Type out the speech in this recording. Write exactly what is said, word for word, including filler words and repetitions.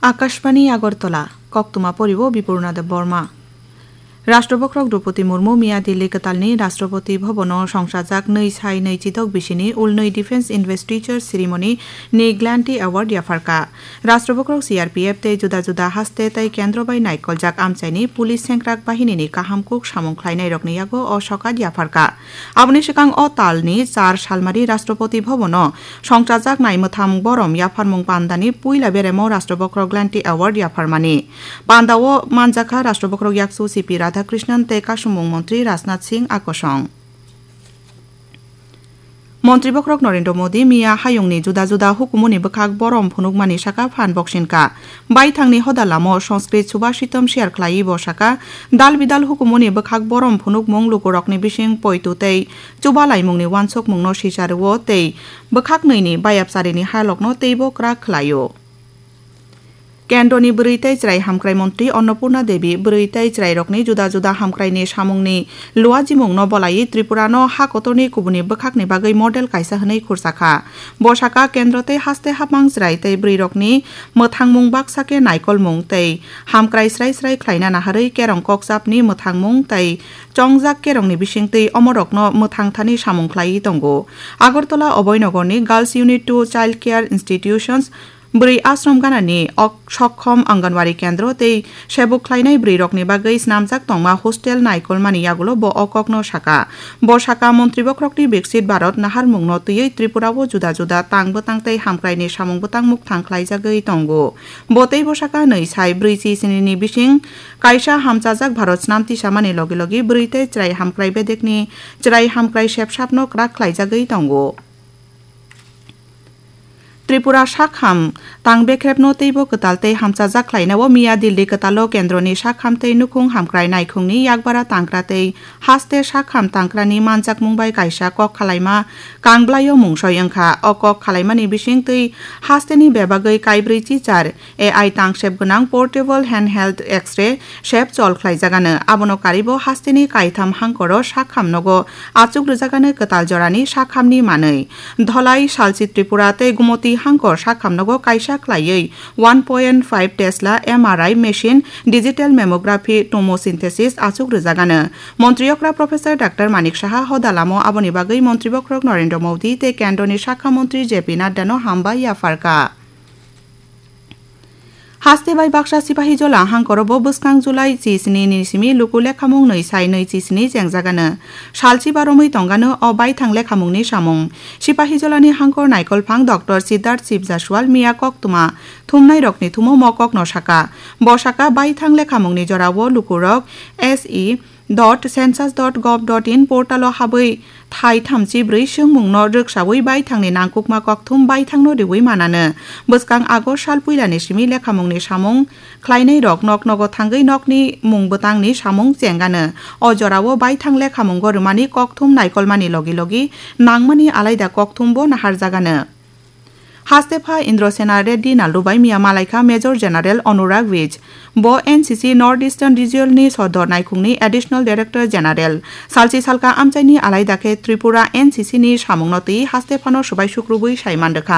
Akashbani Agartala, koktwma poribo Bipurna Debbarma. Rashtrabhakrok Droupadi Murmu miya Delhi kwtalni Rashtrapati Bhabono songchajak nwi sai nwi chidok bisini ulnwi Defence Investiture Ceremony ni Glanti Award yapharkha. Rashtrabhakrok C R P F tei juda juda haste tei kendro bai naikoljak amchaini police sengkrak bahinini kaham kuk samung khlainairokni yago o sokat yapharkha. Aboni swkang o talni char salmari Rashtrapati Bhabono songchajak nai mwtham borom yapharmung pandani puila beremo Rashtrabhakrok Glanti Award yapharmani. Pandao manjakha Rashtrabhakrok yaksu C P Radhakrishnan tei Kasumung Montri Rajnath Singh akosong. Montri Bokhorok Narendra Modi miya hayungni juda juda hukumuni bwkhak borom phunukmani saka phan boksinka. Baithangni hoda lamo Sanskrit Subhashitam share khlaiwi bo saka, dal bidal hukumuni bwkhak borom phunukmung lukurokni bising poitu tei chubalaimungni wansukmungno sicharwo tei bwkhak nini bayapcharini halokno teibo kwrak khlaio. Kendroni bwrwi tei chwrai hamkrai montri Annapurna Devi bwrwi tei chwrairokni juda juda hamkraini samungni luajimungno bolaiwi Tripurano ha kotorni kubuni bwkhakni bagwi model kaisa hwnwi khursakha. Bo saka kendro tei haste hapmang chwrai tei bwrwirokni mwthangmung baksa khe naikolmung tei hamkrai srai srai khlaina naharwi kerong kokchapni mwthangmung tei chongjak kerongni bisingtwi omorokno mwthangthani samung khlaiwi tongo. Agartala Abhoynagarni Girls Unit two Child Care Institutions bwrwi ashram ganani ok-, sokkhom Anganwadi kendro tei sebuk khlainai bwrwirokni bagwi snamjak tongma hostel naikolmani yagulo bo o kokno saka. Bo saka, Montri Bokhorokni Viksit Bharat naharmungno twiwi Tripurao juda juda tang bwtang tei hamkraini samung bwtang mukthang khlaijagwi tongo. Bo teibo saka, nwi sai brwi chi sinini bising kaisa hamchajak Bharat snam tisamani logi logi bwrwi tei chwrai hamkrai bedekni chwrai hamkrai sepsapno kwrak khlaijagwi tongo. Tripura sakham tang bekrepno teibo kwtal tei hamchajak khlainao miya Delhi kwtalo kendroni sakham tei nukhung hamkrai naikhungni yakbara tangkra tei haste sakham tangkrani manjakmung bai kaisa kok khalaima kangblaio mungsoi wngkha. O kok khalaimani bisingtwi hasteni bebagwi kaibrwi chichar A I tangsep gwnang portable handheld X-ray sep chol khlaijagano. Abono karibo hasteni kaitham hangkoro sakham nogo achuk rwjagano kwtal jorani sakhamni manwi. Dholai, Salchi Tripura tei Gumoti hangkor sakhamnogo kaisa khlaiwi one point five Tesla M R I machine, digital mammography, tomosynthesis achuk rwjagano. Montri okra Professor Doctor Manik Saha hoda lamo aboni bagwi Montri bokhorok Narendra Modi tei kendroni sakha montri J P Nadda no hambai yapharkha. Haste bai baksa Sipahijola hangkorobo bwskang July chi sini ni simi luku lekhamung nwi sai nwi chi sini jengjagano. Salchi baromwi tongano o baithang lekhamungni samung. Sipahijolani hangkor naikolphang Doctor Siddharth Shiv Jaswal miya koktwma thumnairokni thumo mo kokno saka. Bo saka baithang lekhamungni jorao lukurok S E dot census dot gov dot in portalo habwi thai thamchi brwi swngmungno rwksaui baithangni nangkukma kokthum baithangno riui manano. Bwskang August sal puilani simi lekhamungni samung khlainairok nok nogo thangwi nokni mung bwtangni samung chengano. O jorao baithang lekhamungo rwmani kokthum naikolmani logi logi nangmani alaida kokthumbo naharjagano. Hastepha Indrasena Reddy Nallubai miya malaikha Major General Anurag Vij. Bo N C C North Eastern Region ni sodor naikhungni Additional Director General. Salchi salka amchaini alaida khe Tripura N C C ni samungno twi hastephano swbai sukrubwi saiman rwkha.